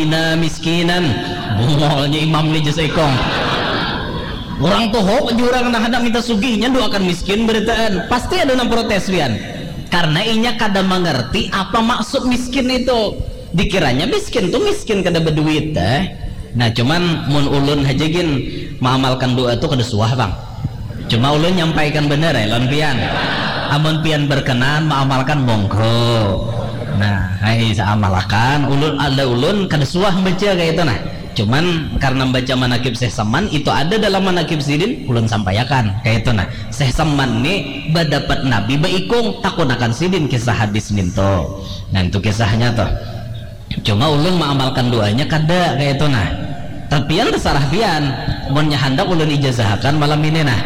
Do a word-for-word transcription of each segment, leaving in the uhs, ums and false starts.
Ina miskinan. Bungolnya imam ni jasa ikong. Orang tuhuk jurang nah hendak minta sugihnya doakan miskin beritaan. Pasti ada nang protes pian. Karena inya kada mengerti apa maksud miskin itu. Dikiranya miskin tuh miskin kada berduit dah. Nah cuman mun ulun aja gin mengamalkan doa tuh kada suah bang. Cuma ulun nyampaikan bener ya lawan pian. Amun pian berkenan mengamalkan monggo. Nah, hai seamalakan ulun ada ulun kada suah baca kayak itu nah. Cuman karena baca manakib Syekh Saman itu ada dalam manakib sidin ulun sampaikan kayak itu nah. Syekh Saman ni badapat Nabi baikung takunakan sidin kisah hadis ninto. Nah itu kisahnya tuh. Cuma ulun mengamalkan doanya kada kayak itu nah. Tapian terserah pian. Munnya handak ulun ijazahakan malam ini nah.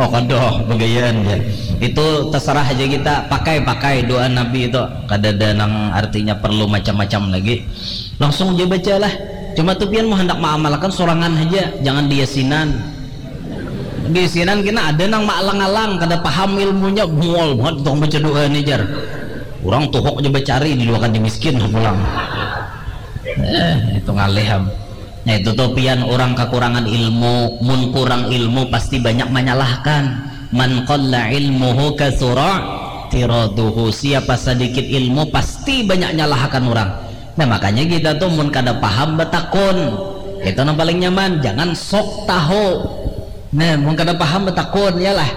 Oh kodoh begayaan ya. Itu terserah aja kita pakai pakai doa Nabi itu. Kada ada nang artinya perlu macam-macam lagi. Langsung aja bacalah. Cuma tuh pian mau hendak mengamalkan sorangan aja, jangan diasinan. Di sinan kena ada nang maalang-alang kada paham ilmunya mual banget tukang baca doa ni jar. Orang tuhok je bacari di dua kan di miskin pulang. Eh, itu ngalih am. Nah itu tuh pian orang kekurangan ilmu, mun kurang ilmu pasti banyak menyalahkan. Man qalla ilmuhu kasura tiraduhu. Siapa sedikit ilmu pasti banyak nyalahkan orang. Nah makanya kita tuh mun kada paham betakun. Itu nang paling nyaman, jangan sok tahu. Nah, mun kada paham betakun ya lah.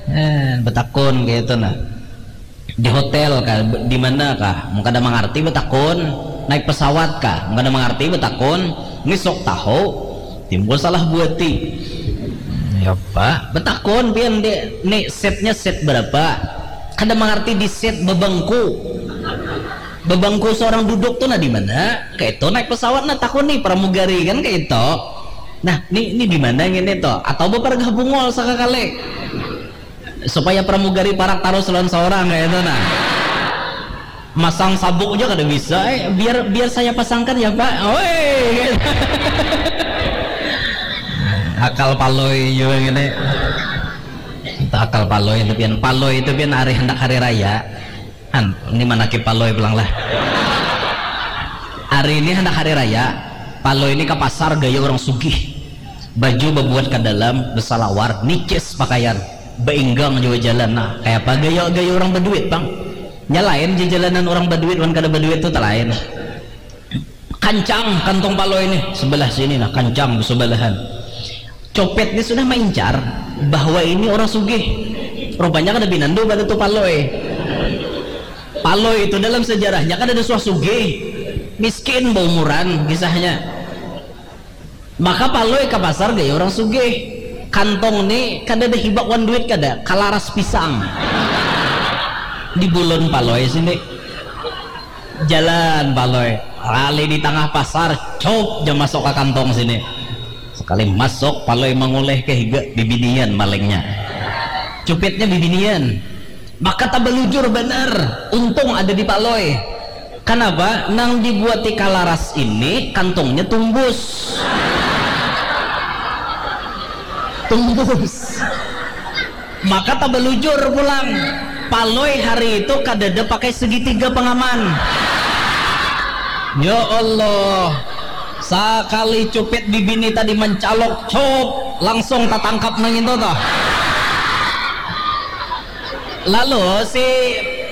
Nah, betakun kayak itu nah. Di hotel kah, di mana kah? Mun kada mengerti betakun. Naik pesawat kah? Mun kada mengerti betakun. Ini sok tahu. Timbul salah buati. Ya pak, betakun pian dek. Nih setnya set berapa? Kada mengerti di set bebengku. Bebengku seorang duduk tuh nah di mana? Kayak itu naik pesawat nah takun nih pramugari kan kayak itu. Nah, ini ini di mana ngene to? Atau bepargah bungol sakakali. Supaya pramugari parak tarus lawan seorang kayak itu nah. Masang sabuk aja kada bisa, eh, biar biar saya pasangkan ya pak. Oi. Akal paloi juga ngene. Itu akal paloi itu pian. Paloi itu pian hari hendak hari raya. An, ini manakib paloi pulang lah. Hari ini hendak hari raya, paloi ini ke pasar gaya orang sugih. Baju bebuat ke dalam, besalawar, nicis pakaian, beinggang juga jalan. Nah, kayak apa gaya gaya orang berduit bang? Nya lain di jalanan orang berduit, orang kada berduit tuh lain. Kancang kantong paloi ini sebelah sini nah, kancang sebelahan. Copet ini sudah maincar bahwa ini orang sugih. Rupanya kada binandu pada tu paloi. Paloi itu dalam sejarahnya kada ada suah sugih, miskin baumuran kisahnya. Maka paloi ke pasar gaya orang sugih. Kantong ni kada ada hibak wan duit kada, kalaras pisang. Di bulun paloi sini. Jalan paloi, lali di tangah pasar, cop jam masuk ke kantong sini. Sekali masuk paloi mengulih ke higa bibinian malingnya. Cupitnya bibinian. Maka tabalujur banar, untung ada di paloi. Kanapa? Nang dibuati kalaras ini kantongnya tumbus. Tumbus. Maka tabalujur pulang. Paloi hari itu kadada pakai segitiga pengaman. Ya Allah. Sakali cupit bibini tadi mencalok, cop, langsung tatangkap nang itu toh. Lalu si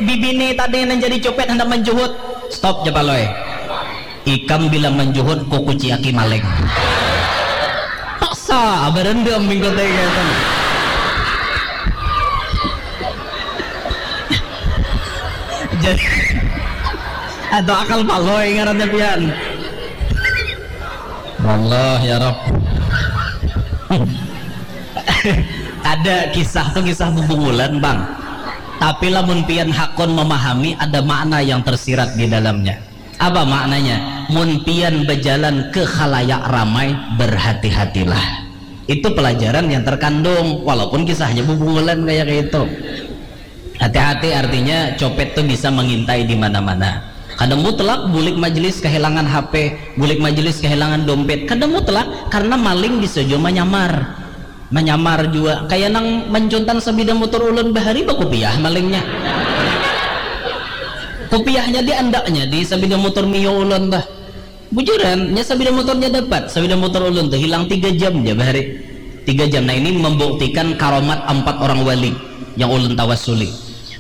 bibini tadi nang jadi cupit hendak menjuhut, stop ja paloi. Ikam bila menjuhut kukuci aki maling. Paksa berendam minggu tega itu. Jadi atau akal paloi ngarannya pian. Allah ya Rob. Ada kisah tuh kisah bubungulan bang. Tapi lamun pian hakun memahami ada makna yang tersirat di dalamnya. Apa maknanya? Mun pian berjalan ke khalayak ramai, berhati-hatilah. Itu pelajaran yang terkandung, walaupun kisahnya bubungulan kayak itu. Hati-hati artinya copet tuh bisa mengintai di mana-mana. Kada mutlak bulik majelis kehilangan H P, bulik majelis kehilangan dompet. Kada mutlak karena maling bisa juga menyamar. Menyamar juga kayak nang mencuntan sabida motor ulun bahari bakupiah malingnya. Kupiahnya di andaknya di sabida motor Mio ulun tuh. Bujuran, nya sabida motornya dapat, sabida motor ulun tuh hilang tiga jam ja bahari. Tiga jam. Nah, ini membuktikan karomat empat orang wali yang ulun tawasuli.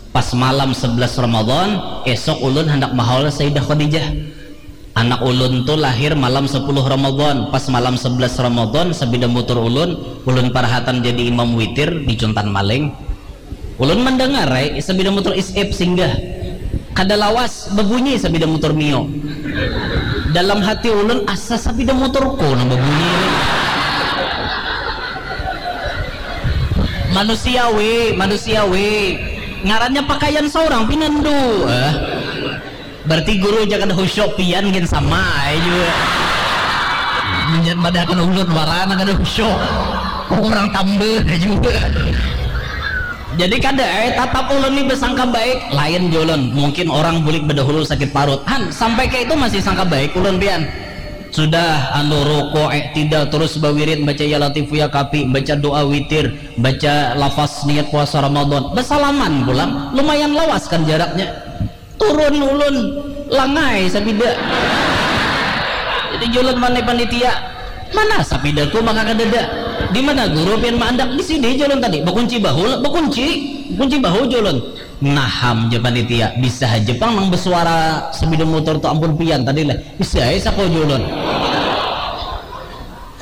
Pas malam sebelas Ramadan, esok ulun hendak mahaul Sayyidah Khadijah. Anak ulun tu lahir malam sepuluh Ramadan, pas malam sebelas Ramadan, sabida motor ulun, ulun parahatan jadi imam witir di Cuntan Maling. Ulun mandangarai sabida motor Isep singgah. Kada lawas babunyi sabida motor Mio. Dalam hati ulun, asa sabida motorku nang babunyi ni. Manusiawi, manusiawi. Ngarannya pakaian saurang pinandu. Eh. Berarti guru ja kada khusyuk, pian gin sama ai jua. Munjan madahakan ulun wara nang kada khusyuk. Kok urang tambah jua. Jadi kada ai, tatap ulun ni basangka baik, lain ja ulun. Mungkin orang bulik badahulu sakit parut. Han, sampai kaya itu masih sangka baik ulun pian. Sudah anu rukuk, iktidal, terus bawirid baca ya latifu ya kafi, baca doa witir, baca lafaz niat puasa Ramadan. Basalaman pulang, lumayan lawas kan jaraknya. Turun ulun, langai sabida. Jadi julun manai panitia, mana sapidaku maka kadada. Di mana guru pian maandak? Di sini julun tadi, bakunci bahu lah, bakunci, kunci bahu julun. Naham ja panitia, bisa haja pang nang basuara sabida motor tu ampun pian tadi lah. Bisa ai saku julun.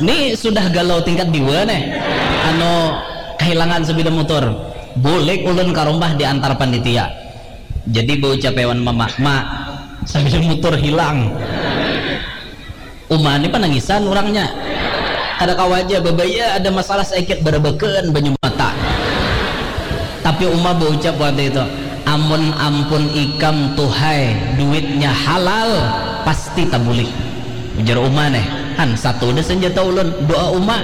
Ni sudah galau tingkat diwa neh. Anu, kahilangan sabida motor. Bulik ulun ka rumah diantar panitia. Jadi baucap ai wan mama, "Ma, sabida motor hilang." Uma ni panangisan urangnya. Kada kawa ja, babaya ada masalah saikit barabakan banyu mata. Tapi uma baucap waktu itu, "Amun ampun ikam tu hai duitnya halal, pasti tabulik." Ujar uma neh, han satu dah senjata ulun, doa uma.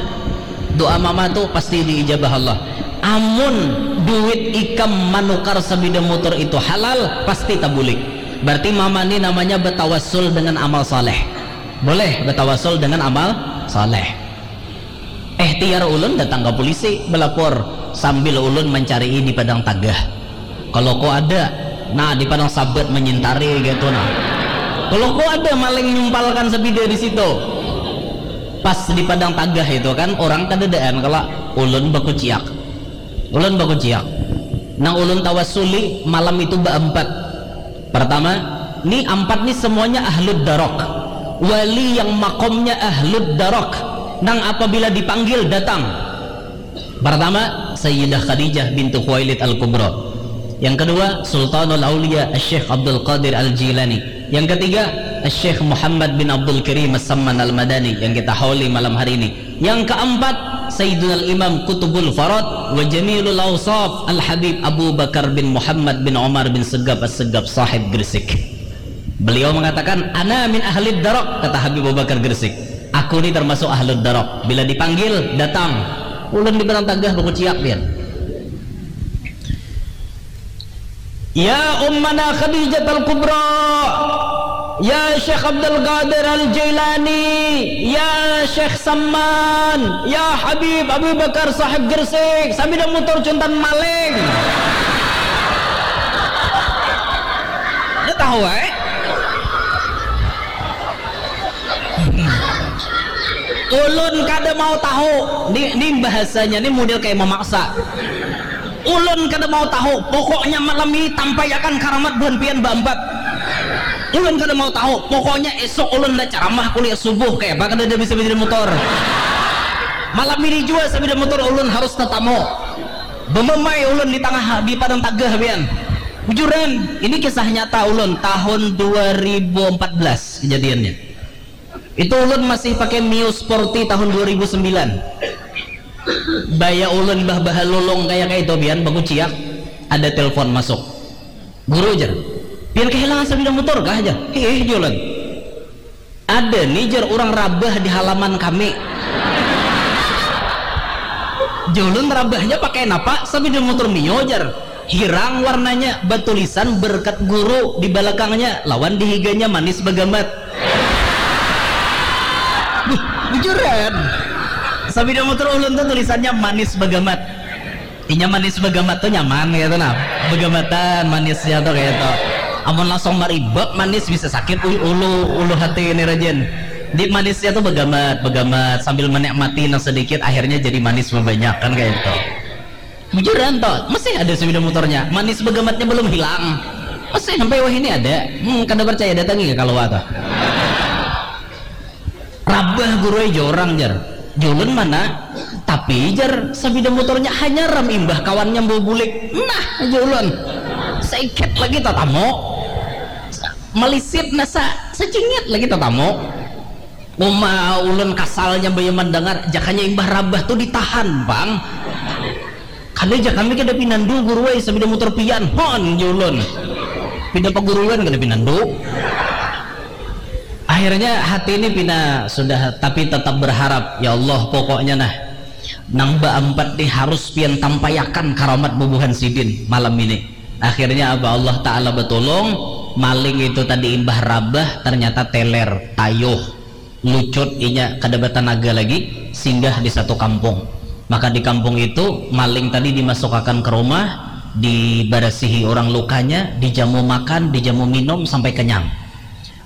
Doa mama tu pasti diijabah Allah. Amun duit ikam manukar sabida motor itu halal, pasti tabulik. Berarti mama ni namanya batawasul dengan amal saleh. Boleh batawasul dengan amal saleh. Ikhtiar ulun datang ka pulisi balapor sambil ulun mancarii di padang tagah. Kalau ko ada, nah, di padang sabat manyintari kaitu nah. Kalau ko ada maling nyumpalkan sabida di situ. Pas di padang tagah itu kan orang kadadaan kalo, ulun bakuciak. Ulun bakuciak. Nang ulun tawasuli malam itu baampat. Pertama, ni ampat ni semuanya ahlud darok. Wali yang makomnya ahlud darok. Nang apabila dipanggil datang. Pertama, Sayyidah Khadijah bintu Khuwailid Al-Kubra. Yang kedua, Sultanul Aulia Syekh Abdul Qadir Al-Jilani. Yang ketiga, Syekh Muhammad bin Abdul Karim As-Samman Al-Madani yang kita hauli malam hari ini. Yang keempat, Sayyidunal Imam Kutubul Farad wa Jamilul Ausaf Al-Habib Abu Bakar bin Muhammad bin Umar bin Segap As-Segap Sahib Gresik. Beliau mengatakan, "Ana min ahlid darok," kata Habib Abu Bakar Gresik. "Aku ni termasuk ahlud darok. Bila dipanggil, datang." Ulun di barang tagah bakuciak pian. Ya Ummana Khadijat Al-Kubra, ya Syekh Abdul Qadir Al-Jailani, ya Syekh Samman, ya Habib Abu Bakar Sahib Gresik, sabida mutur cuntan maling. Dah tahu ai. Ulun kada mau tahu. Ni, ni bahasanya ni model kayak memaksa. Ulun kada mau tahu, pokoknya malam ini tampaiakan karamat buhan pian baampat. Ulun kada mau tahu, pokoknya esok ulun ada ceramah kuliah subuh, kaya apa kada ada bisa bajadi motor. Malam ini jua sabida motor ulun harus tatamu. Bememai ulun di tangah, di padang tagah pian. Bujuran, ini kisah nyata ulun tahun dua ribu empat belas kejadiannya. Itu ulun masih pakai Mio Sporty tahun dua ribu sembilan. Baya ulun bah bahalulung kaya kaitu pian bakuciak, ada telepon masuk. "Guru," jar, "pian kehilangan sabida motor kah?" jar. "Hiih," jar ulun. "Ada ni," jar, "urang rabah di halaman kami." Jar ulun, "Rabahnya pakai napa?" "Sabida motor Mio," jar. "Hirang warnanya, batulisan berkat guru di balakangnya, lawan di higanya manis bagamat." Buh, bujuran. Sabida motor ulun tuh tulisannya manis bagamat. Inya manis bagamat tuh nyaman gitu nah. Bagamatan manisnya tuh kayak itu. Amun langsung maribak manis bisa sakit, uy, ulu, ulu hati ini rajin. Di manisnya tuh begamat, begamat sambil menikmati nang sedikit, akhirnya jadi manis banyak kan kayak itu. Bujuran toh, masih ada sepeda motornya, manis begamatnya belum hilang. Masih sampai wah ini ada. Hmm, kada percaya datangi ke kalau tuh. Rabah guru ai jar urang jar. Julun mana? Tapi jar sabida muturnya hanyar am imbah kawannya bawa bulik. Nah jar ulun. Saikit lagi tatamu. Malisit nasa sacingit lagi tatamu. Uma ulun kasalnya baya mandangar jakanya imbah rabah tu ditahan pang. Kada ja kami kada pinandu guru ai sabida mutur pian hon jar ulun. Pina paguruyuan kada pinandu. Akhirnya hati ini pina sudah tapi tetap berharap ya Allah pokoknya nah nang baampat ni harus pian tampaiakan karamat bubuhan sidin malam ini. Akhirnya apa Allah Ta'ala batulung maling itu tadi imbah rabah ternyata teler tayuh lucut inya kada batanaga lagi singgah di satu kampung. Maka di kampung itu maling tadi dimasukakan ke rumah, dibarasihi orang lukanya, dijamu makan, dijamu minum sampai kenyang.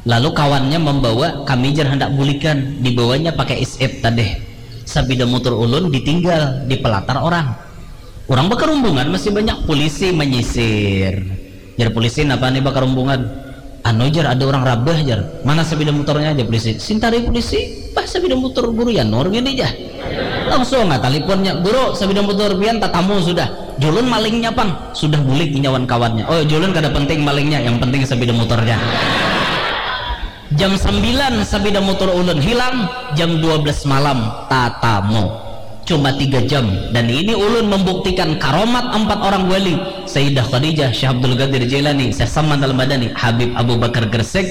Lalu kawannya membawa kami jer hendak bulikan, dibawanya pakai isip tadeh. Sabida mutur ulun ditinggal di pelatar orang. Urang bakarumbungan masih banyak pulisi manyisir. Jar pulisi napa ni bakarumbungan? Anu jar ada urang rabah jar. Mana sabida muturnya jar pulisi. Sintari pulisi bah sabida mutur guru Yanur ngini jah. Langsung ah talipunnya guru sabida mutur pian tatamu sudah. Julun malingnya pang sudah bulik inya wan kawannya. Oh julun kada penting malingnya yang penting sabida muturnya. Jam sambilan sapida mutur ulun hilang, jam dua belas malam tatamu. Cuma tiga jam dan ini ulun membuktikan karomat ampat orang wali Sayyidah Khadijah, Syekh Abdul Qadir Jailani, Syekh Saman Al Madani, Habib Abu Bakar Gresik.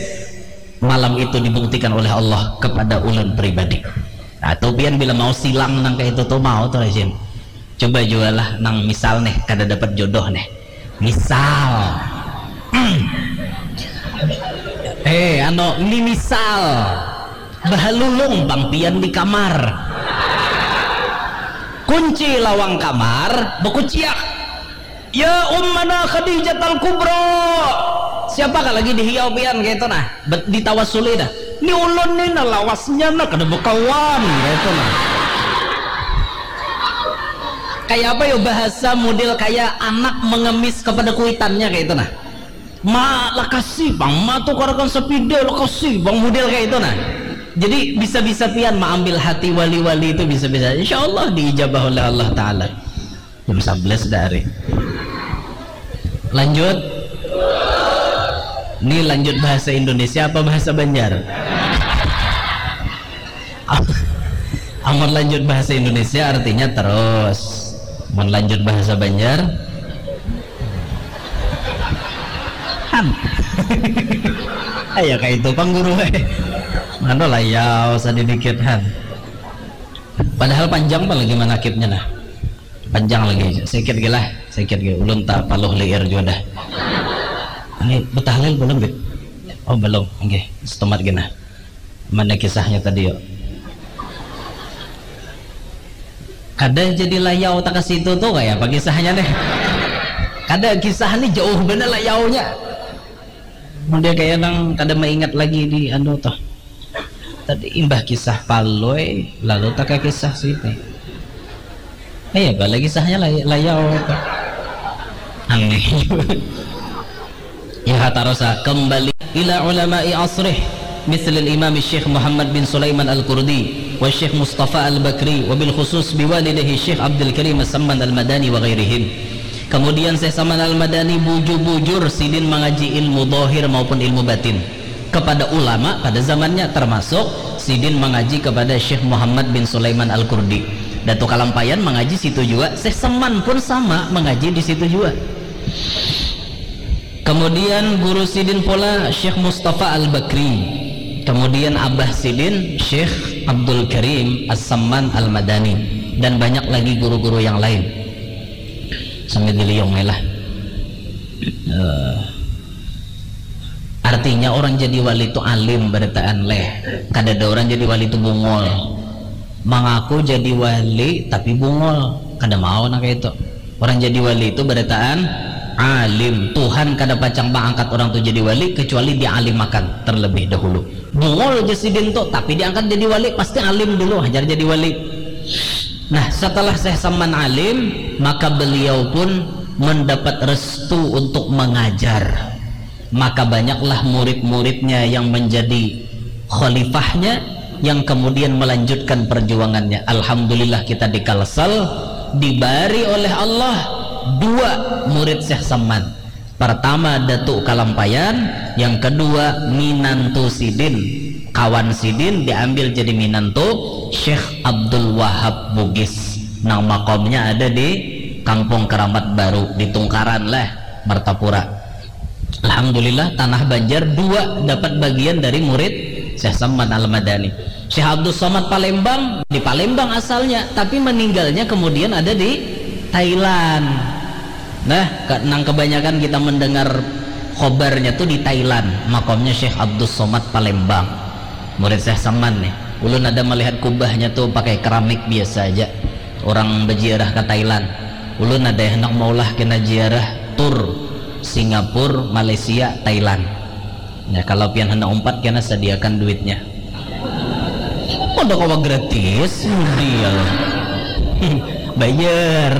Malam itu dibuktikan oleh Allah kepada ulun pribadi. Nah, tu pian bila mau silang nang kaya itu tu mau tu rajin. Coba jua lah nang misal nih kada dapat jodoh nih. Misal. Eh, anu, ni misal. Bahalulung pang pian di kamar. Kunci lawang kamar, bakuciak. Ya ummana Khadijat al Kubra. Siapa kah lagi dihiau pian kaitu nah. Bet- ditawasuli dah. Ni ulun ni nah lawasnya nah kada bakawan kaitu nah. Kaya apa yo bahasa mudil kaya anak mengemis kepada kuitannya kaitu nah. Ma lakasi pang ma tukarakan sapida lakasi pang mudil kaitu nah. Jadi bisa-bisa pian maambil hati wali-wali itu bisa-bisa insyaallah diijabah oleh Allah taala. Jam sabelas dah hari. Lanjut. Ni lanjut bahasa Indonesia apa bahasa Banjar? Amun lanjut bahasa Indonesia artinya terus. Mun lanjut bahasa Banjar han. Aya kaitu pang guru ai. Mana layau sadidikit han. Padahal panjang pang lagi manakibnya nah. Panjang lagi, sikit gila, sikit gila. Ulun tak paluh liir jua dah. Ini betahlil belum bit? Oh belum, oke, setemat gina. Mana kisahnya tadi yuk? Kada jadi layau tak ke situ tuh kayak apa kisahnya nih? Kada kisah nih jauh bener layaunya. Mun dia kaya nang kada maingat lagi di anu tuh. Tadi imbah kisah palui lalu taka kisah sini. Iya bala kisahnya lay layau tuh. Aneh. Ya tarosa kembali ila ulama'i asrih mislil imam Syekh Muhammad bin Sulaiman al-Kurdi wa Syekh Mustafa al-Bakri wa bil khusus biwalidahi Syekh Abdul Karim Samman al-Madani wa ghairihim. Kemudian Syekh Saman Al-Madani bujur-bujur sidin mangaji ilmu dohir maupun ilmu batin kepada ulama pada zamannya, termasuk sidin mangaji kepada Syekh Muhammad bin Sulaiman Al-Kurdi. Datu Kalampayan mangaji situ jua, Syekh Saman pun sama mangaji di situ jua. Kemudian guru sidin pula Syekh Mustafa Al-Bakri. Kemudian abah sidin Syekh Abdul Karim As-Samman Al-Madani dan banyak lagi guru-guru yang lain. Sambil diliung lah. Uh, artinya orang jadi wali itu alim barataan leh. Kada ada orang jadi wali itu bungul. Mengaku jadi wali tapi bungul. Kada mau nak itu. Orang jadi wali itu barataan alim. Tuhan kada pacang mangangkat orang tu jadi wali kecuali dialimakan terlebih dahulu. Bungul ja sidin tu, tapi diangkat jadi wali pasti alim dulu, hajar jadi wali. Nah, setelah Syekh Saman alim, maka beliau pun mendapat restu untuk mengajar. Maka banyaklah murid-muridnya yang menjadi khalifahnya, yang kemudian melanjutkan perjuangannya. Alhamdulillah, kita di Kalsel dibari oleh Allah dua murid Syekh Saman. Pertama Datuk Kalampayan, yang kedua minantu sidin, kawan sidin diambil jadi minantu Syekh Abdul Wahab Bugis, nang makomnya ada di Kampung Keramat Baru di Tungkaran lah, Martapura. Alhamdulillah, tanah Banjar dua dapat bagian dari murid Syekh Saman Al-Madani. Syekh Abdul Somad Palembang, di Palembang asalnya, tapi meninggalnya kemudian ada di Thailand. Nah, ke- nang kebanyakan kita mendengar khobarnya tuh di Thailand, makomnya Syekh Abdul Somad Palembang. Murid Syekh Saman nih. Ulun ada melihat kubahnya tuh pakai keramik biasa aja. Orang berziarah ke Thailand. Ulun ada yang hendak maulah kena ziarah tur Singapura, Malaysia, Thailand. Ya, kalau pian hendak umpat, kena sediakan duitnya. Kada kawa gratis, mudial. Bayar.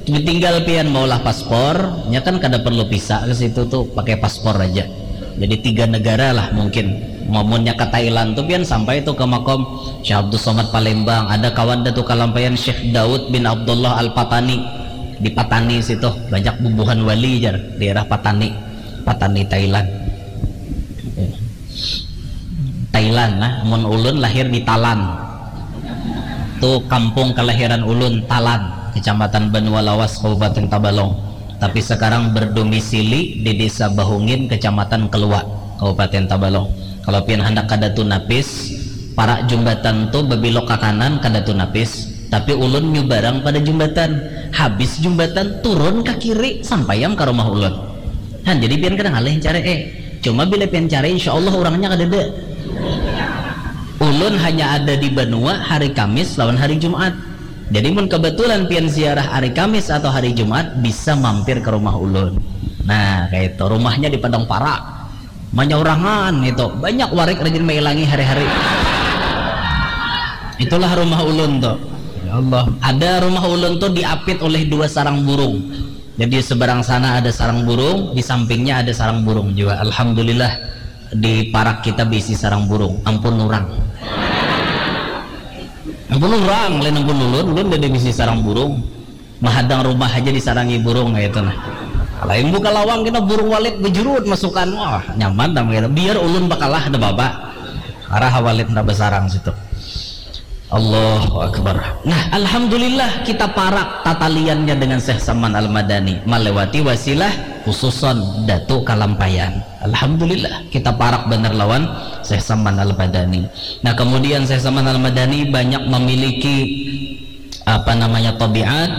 Tinggal pian maulah paspor, nya kan kada perlu visa ke situ tuh, pakai paspor aja. Jadi tiga negara lah mungkin. Mamunnya ke Thailand tuh pian sampai tuh ke makom Syekh Abdul Somad Palembang, ada kawan Datuk Kalampayan Syekh Daud bin Abdullah Al Patani di Patani situ, banyak bubuhan wali jar daerah Patani, Patani Thailand. Thailand nah, mun ulun lahir di Talan. Tu kampung kelahiran ulun, Talan, Kecamatan Banua Lawas, Kabupaten Tabalong. Tapi sekarang berdomisili di Desa Bahungin, Kecamatan Kelua, Kabupaten Tabalong. Kalau pian handak ka Datu Napis, parak jumbatan tu babelok ka kanan ka Datu Napis. Tapi ulun nyubarang pada jumbatan. Habis jumbatan, turun ka kiri, sampai am ka rumah ulun. Han, jadi pian kada ngalih cari eh. Cuma bila pian cari, insya Allah orangnya kadada. Ulun hanya ada di Banua hari Kamis lawan hari Jumat. Jadi mun kebetulan pian ziarah hari Kamis atau hari Jumat, bisa mampir ke rumah ulun. Nah, kayak itu. Rumahnya di Padang Parak. Manyaurangan itu. Banyak warik rajin mailangi hari-hari. Itulah rumah ulun tuh. Ya Allah. Ada rumah ulun tuh diapit oleh dua sarang burung. Jadi seberang sana ada sarang burung, di sampingnya ada sarang burung juga. Alhamdulillah, di parak kita bisi sarang burung. Ampun orang. Ampun orang, lain ampun ulun, ulun udah bisi sarang burung. Mahadang rumah aja disarangi burung kayak itu nah. Lain buka lawang kena burung walit bejurut masukan, wah nyaman dah gitu. Biar ulun bakalah ada baba. Arah walit ndak besarang situ. Allahu Akbar. Nah, alhamdulillah kita parak tataliannya dengan Syekh Saman Al-Madani melewati wasilah khususon Datuk Kalampayan. Alhamdulillah kita parak bener lawan Syekh Saman Al-Madani. Nah, kemudian Syekh Saman Al-Madani banyak memiliki apa namanya tabiat,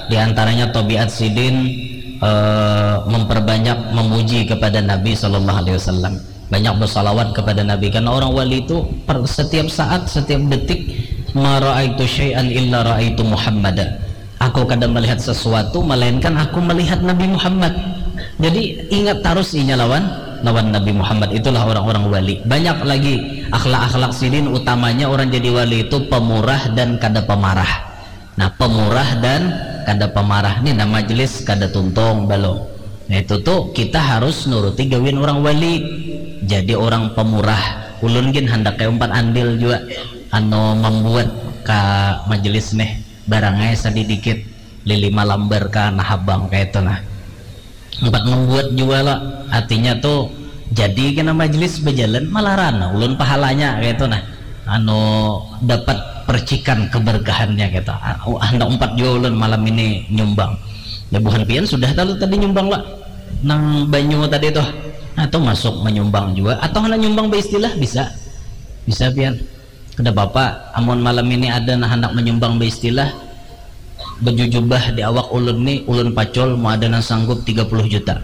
di antaranya tabiat sidin eh, memperbanyak memuji kepada Nabi Sallallahu Alaihi Wasallam. Banyak bersalawat kepada Nabi karena orang wali itu per, setiap saat, setiap detik, "Ma raaitu syai'an illa raaitu Muhammada." Aku kada melihat sesuatu melainkan aku melihat Nabi Muhammad. Jadi ingat terus inya lawan lawan Nabi Muhammad, itulah orang-orang wali. Banyak lagi akhlak-akhlak sidin, utamanya orang jadi wali itu pemurah dan kada pemarah. Nah, pemurah dan kada pemarah ni nah majelis kada tuntung balum. Nah, itu tuh kita harus nuruti gawian orang wali. Jadi orang pemurah. Ulun gin handak kayak umpat andil juga anu membuat ke majelis nih barangai sedikit lili malambar ke nahabang kayak itu nah. Empat membuat jua lo, artinya tuh jadi kena majelis berjalan malaran nah, ulun pahalanya kayak itu nah, anu dapat percikan keberkahannya gitu. Ah, oh, hendak empat jua ulun malam ini nyumbang. Ya buhan pian sudah talu tadi nyumbang lah nang banyu tadi tuh. Nah, tuh masuk menyumbang juga atau hendak nyumbang beristilah bisa, bisa pian. Kada papa, amun malam ini ada nang handak manyumbang baistilah baju jubah di awak ulun ni, ulun pacul, mun ada nang sanggup tiga puluh juta.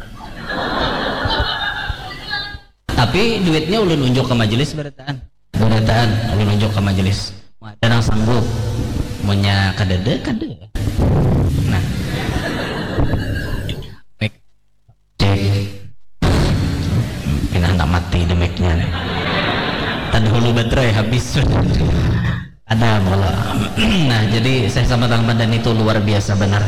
Tapi duitnya ulun unjuk ka majelis barataan. Barataan, ulun unjuk ka majelis. Mun ada nang sanggup, munnya kadada, kada. Nah. Mic-nya nih. Tadi hulu baterai habis. Ada mula. Nah, jadi saya sama Bang Madan itu luar biasa benar.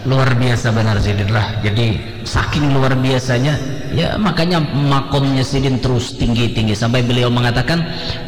Luar biasa benar sidin lah. Jadi saking luar biasanya, ya makanya makomnya sidin terus tinggi-tinggi sampai beliau mengatakan,